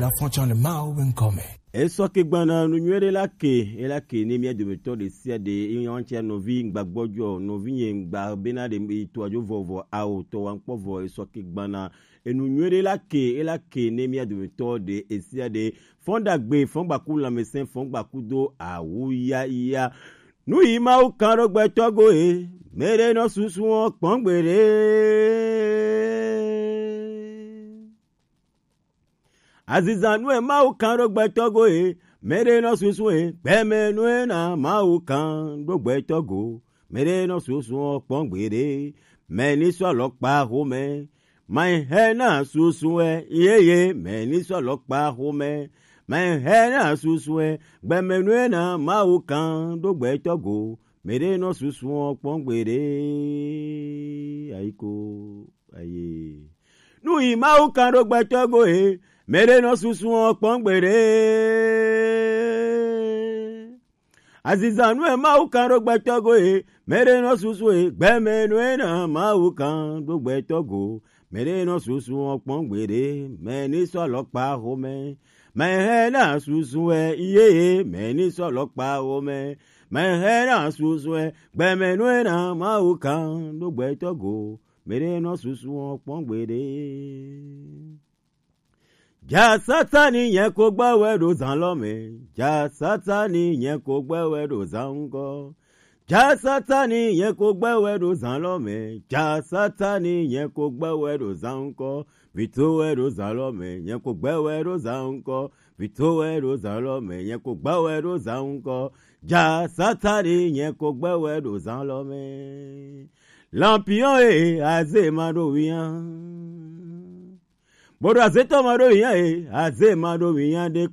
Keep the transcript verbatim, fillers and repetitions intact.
Afɔtsɔ le Mawu be ŋkɔ me. Esɔ ke gbana nu nyuie ɖe la ke, ela ke ne mía dometɔ ɖe sia ɖe, eyan tia nɔvi ŋgba gbɔdzɔ, nɔvi nye ŋgba bena ɖe yi to adzo vɔvɔ, ao tɔ wa ŋkpɔ vɔ, esɔ ke gbana. Enu nyuie ɖe la ke, ela ke ne mía dometɔ ɖe esia ɖe. Fɔn ɖagbe, fɔn gbaku lãmesẽ, fɔn gbaku do awu yaya. Nu yi Mawu kan ɖo gbɛtɔ go e, mɛ ɖe nɔ susu wɔn kpɔn gbeɖe. Azizan nu e Mawu kan ɖo gbɛtɔ go e, mɛ ɖe nɔ susu e, gbɛmɛ nu e na Mawu kan ɖo gbɛtɔ go, mɛ ɖe nɔ susu wɔn kpɔn gbeɖe, mɛ ni sɔ lɔ kpa xomɛ, mɛ hɛ na susu e, yeye, mɛ ni sɔ lɔ kpa xomɛ, mɛ hɛ na susu e, gbɛmɛ nu e na Mawu kan ɖo gbɛtɔ go, mɛ ɖe nɔ susu wɔn kpɔn gbeɖe, ayiko, aye. Nu yi Mawu kan ɖo gbɛtɔ go e, mɛ ɖe nɔ susu wɔn kpɔn gbeɖe. Azizan nu e Mawu kan ɖo gbɛtɔ go e, mɛ ɖe nɔ susu e, gbɛmɛ nu e na Mawu kan ɖo gbɛtɔ go, mɛ ɖe nɔ susu wɔn kpɔn gbeɖe, mɛ ni sɔ lɔ kpa xomɛ, mɛ hɛ na susu e, yeye, mɛ ni sɔ lɔ kpa xomɛ, mɛ hɛ na susu e, gbɛmɛ nu e na Mawu kan ɖo gbɛtɔ go, mɛ ɖe nɔ susu wɔn kpɔn gbeɖe. Ja Satani nye ko gbe wɛ ɖo zan lɔ mɛ. Ja Satani nye ko gbe wɛ ɖo zan ŋgɔ. Ja Satani nye ko gbe wɛ ɖo zan lɔ mɛ. Ja Satani nye ko gbe wɛ ɖo zan ŋgɔ. Vito wɛ ɖo zan lɔ mɛ. Nye ko gbe wɛ ɖo zan ŋgɔ. Vito wɛ ɖo zan lɔ mɛ. Nye ko gbe wɛ ɖo zan ŋgɔ. Ja Satani nye ko gbe wɛ ɖo zan lɔ mɛ. Lampion e aze ma ɖo wian. Bodo azetɔ ma ɖo hiã e, aze ma ɖo hiã ɖe